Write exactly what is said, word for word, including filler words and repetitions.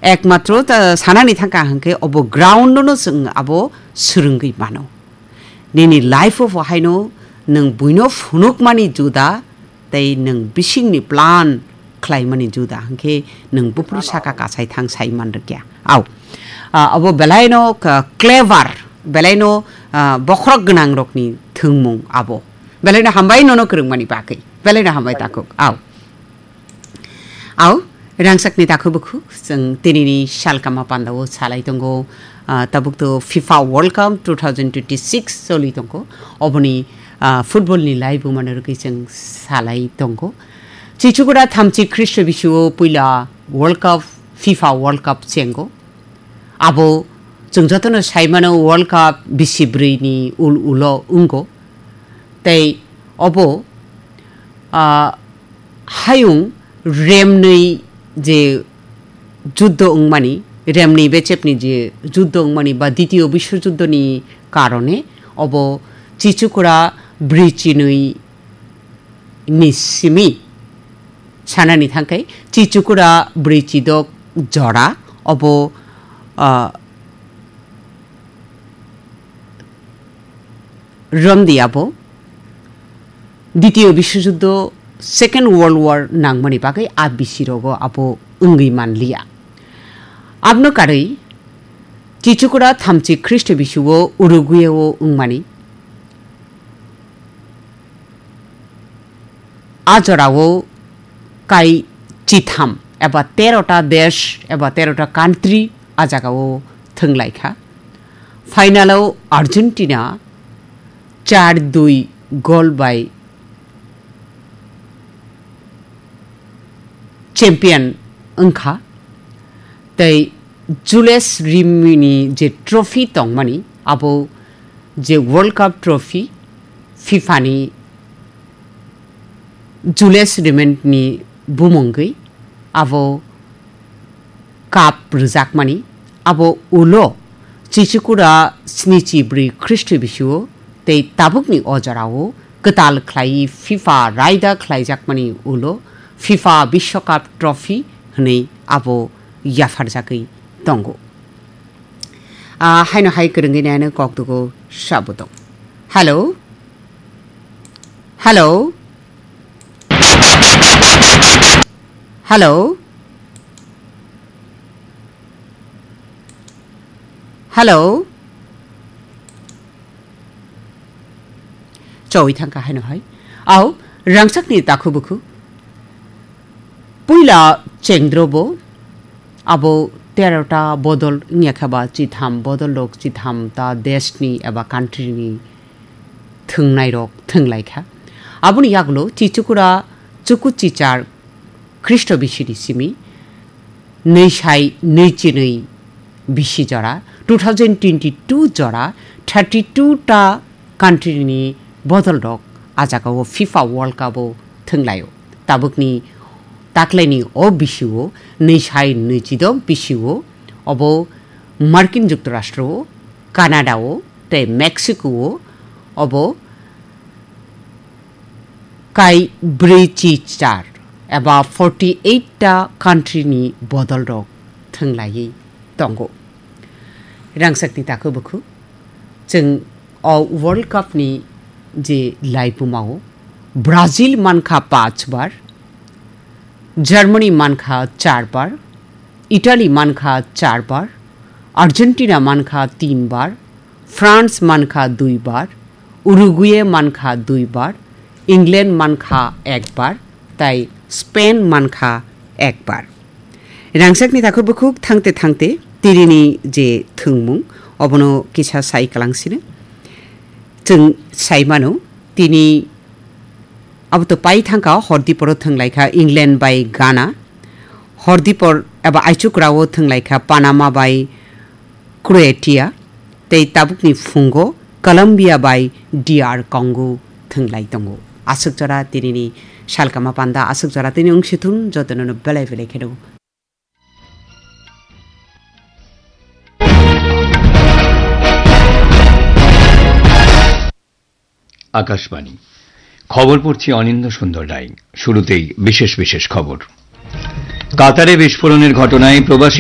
Ekmatro ta sanani thangka hwnkhe obo ground no chwng abo swrwngwi mano. Nini life o haino nwng buino phunukmani juda tei nwng bisingni plan khlaimani juda hwnkhe nwng buphuru saka kasai thang sai man rwkya. Au. Ah, abo belaino ka-, clever, belaino, ah, bokhorok gwnang rokni thwngmung abo. Belaino hambai nono kwrwngmani bagwi. Belaino hambai takhuk. Au. Au, rangchakni takhuk bukhuk, chwng tinini salkama pandao salai tongo, ah, tabuk to FIFA World Cup two thousand twenty-six choli tongo. Oboni, ah, football ni live bo mano rwgwi chwng salai tongo. Chichukura thamchi Khristo bisuo puila World Cup, FIFA World Cup chengo. Abo chwng jotono saimano World Cup bisi brwi ni ul ulo wngo. Tei obo, ah, hayung remnwi je juddo wngmani, remnwi bechepni je juddo wngmani ba Ditiyo Biswojuddo ni karone obo Chichukura brwi chinwi ni simi sanani thangkhe Chichukura brwi chidok jora obo, ah, romdi abo Ditiyo Biswojuddo, Second World War nangmani bagwi a bisi rogo abo wngwi manliya. Abno karwi Chichukura thamchi Khristo bisuo Uruguay o wngmani. A jorao kai chitham eba terota desh eba terota country a jagao thwnglaikha. Final o Argentina char dui gol bai champion wngkha. Tei Jules Rimet ni je trophy tongmani, abo je World Cup trophy, FIFA ni Jules Rimet ni bumungwi abo cup rwjakmani, abo ulo Chichukura snichi brwi Khristo bisuo tei tabukni o jorao kwtal khlaiwi FIFA raida khlaijakmani ulo FIFA Biswakap Trophy hwnwi abo yapharjagwi tongo. Ah, haino hai kwrwngwi nai ano kok dugo sabo tong. Hello? Hello? Hello? Hello? Choi thangkha haino hai. Au, rangchakni takhu bukhu. Puila chengdrobo abo terota bodol wngya kha ba chitham bodol rok chitham ta desh ni eba country ni thwngnai rok thwnglaikha. Aboni yagulo Chichukura chuku chichar Khristo bisini simi nwi sai nwi chinwi bisi jora, two thousand twenty-two jora, thirty-two ta country ni bodol rok a jagao FIFA World Cup o thwnglaio. Tabukni taklaini o bisio nwi sai nwi chidok bisio obo Markin Juktharashtra o, Canada o, tei Mexico o, obo kai brwi chi char eba forty eight ta country ni bodol rok thwnglaiwi tongo. Rangchakni takhu bukhu chwng o World Cup ni je laibuma o Brazil mankha panch bar, Germany mankha char bar, Italy mankha char bar, Argentina mankha tin bar, France mankha dui bar, Uruguay mankha dui bar, England mankha ek bar, tai Spain mankha ek bar. Rangchakni takhu bukhuk thangte thangte tirini je thwngmung obono kisa sai kalangsino. Chwng sai mano tini Abo to pai thangka, hordiporo thwnglaikha England bai Ghana. Hordipor eba aichukrao thwnglaikha Panama bai Croatia. Tei tabukni phungo Colombia bai D R Congo thwnglai tongo. Aswk jora tinini salkama panda, aswk jora tini wng sithun jotono no belai belai kheno. Akashvani. খবর পড়ছি অনিন্দ্য সুন্দর রায়। শুরুতেই বিশেষ বিশেষ খবর। কাতারে বিস্ফোরণের ঘটনায় প্রবাসী